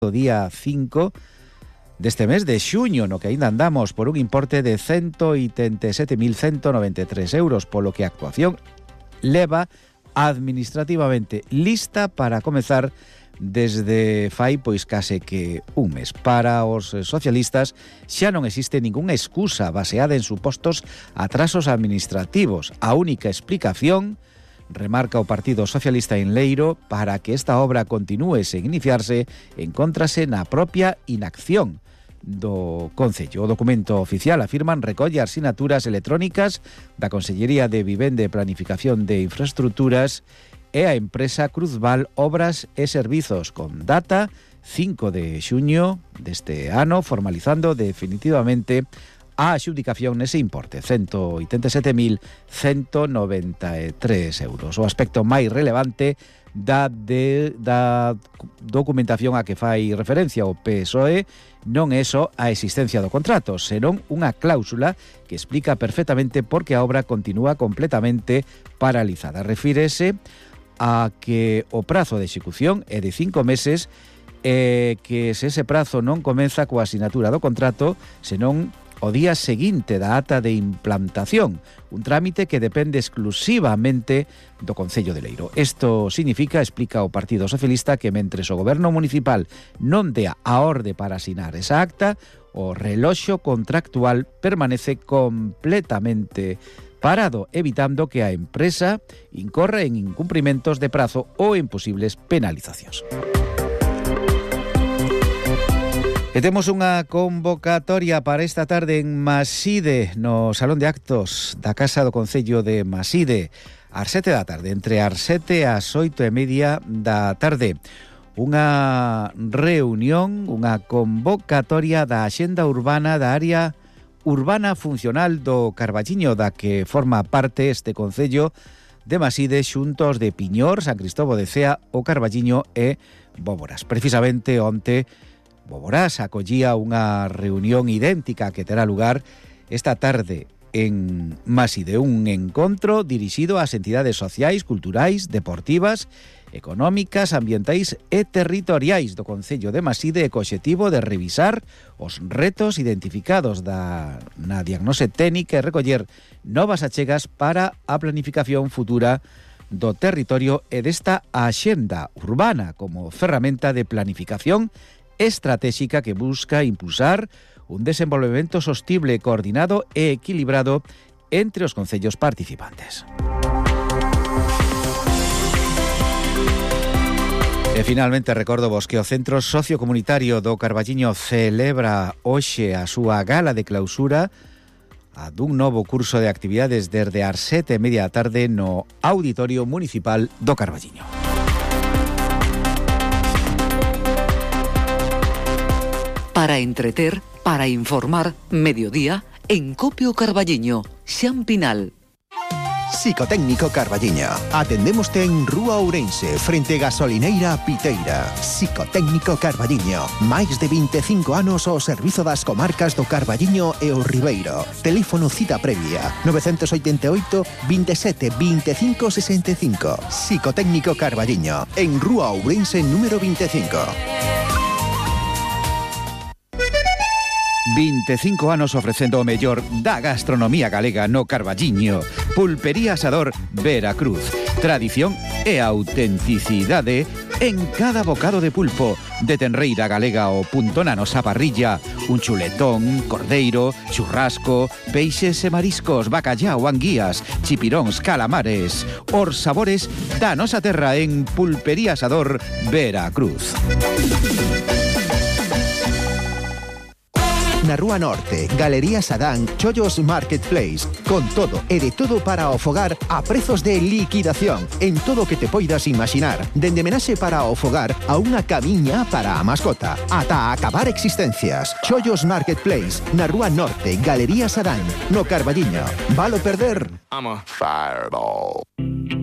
o día 5 deste mes de xuño, no que aínda andamos por un importe de 187.193 euros, polo que a actuación leva administrativamente lista para comezar desde fai pois case que un mes. Para os socialistas xa non existe ningunha excusa baseada en supostos atrasos administrativos. A única explicación, remarca o Partido Socialista en Leiro, para que esta obra continúe sen iniciarse, encóntrase na propia inacción do Concello. O documento oficial, afirman, recolle as sinaturas electrónicas da Consellería de Vivenda e Planificación de Infraestructuras e a empresa Cruzval Obras e Servizos, con data 5 de xuño deste ano, formalizando definitivamente a adxudicación nese importe, 187.193 euros. O aspecto máis relevante da documentación a que fai referencia o PSOE non é só a existencia do contrato, senón unha cláusula que explica perfectamente por que a obra continúa completamente paralizada. Refírese a que o prazo de execución é de 5 meses e que se ese prazo non comeza coa asinatura do contrato, senón o día seguinte da ata de implantación, un trámite que depende exclusivamente do Concello de Leiro. Isto significa, explica o Partido Socialista, que mentres o Goberno Municipal non dea a orde para asinar esa acta, o reloxo contractual permanece completamente parado, evitando que a empresa incorra en incumprimentos de prazo ou en posibles penalizacións. E temos unha convocatoria para esta tarde en Maside, no Salón de Actos da Casa do Concello de Maside, ás 7 da tarde, entre as 7 e as 8:30 da tarde. Unha reunión, unha convocatoria da Axenda Urbana da área urbana funcional do Carballiño, da que forma parte este Concello de Maside, xuntos de Piñor, San Cristobo de Cea, o Carballiño e Bóboras. Precisamente onte Bóboras acollía unha reunión idéntica que terá lugar esta tarde en Maside, un encontro dirixido ás entidades sociais, culturais, deportivas, económicas, ambientais e territoriais do Concello de Maside, co obxectivo de revisar os retos identificados na diagnose técnica e recoller novas achegas para a planificación futura do territorio e desta axenda urbana como ferramenta de planificación estratégica que busca impulsar un desenvolvemento sostible, coordinado e equilibrado entre os concellos participantes. E finalmente recordo vos que o Centro Sociocomunitario do Carballiño celebra hoxe a súa gala de clausura a dun novo curso de actividades desde as 7:30 da tarde no Auditorio Municipal do Carballiño. Para entreter, para informar, mediodía, en Copio Carballiño, Xan Pinal. Psicotécnico Carballiño. Atendémoste en Rúa Ourense, frente Gasolineira Piteira. Psicotécnico Carballiño. Máis de 25 anos ao servizo das comarcas do Carballiño e o Ribeiro. Teléfono cita previa 988 27 25 65. Psicotécnico Carballiño, en Rúa Ourense número 25. 25 anos ofrecendo o mellor da gastronomía galega no Carballiño. Pulpería Asador Veracruz. Tradición e autenticidade en cada bocado de pulpo. De tenreira galega o punto na nosa parrilla. Un chuletón, cordeiro, churrasco, peixes e mariscos, bacallao, anguías, chipiróns, calamares. Os sabores da nosa terra en Pulpería Asador Veracruz. Na Rúa Norte, Galería Sadán, Chollos Marketplace, con todo e de todo para o fogar a prezos de liquidación en todo o que te poidas imaginar, dende menaxe para o fogar a unha camiña para a mascota, ata acabar existencias. Chollos Marketplace, na Rúa Norte, Galería Sadán, no Carballiño. Valo perder? I'm a fireball.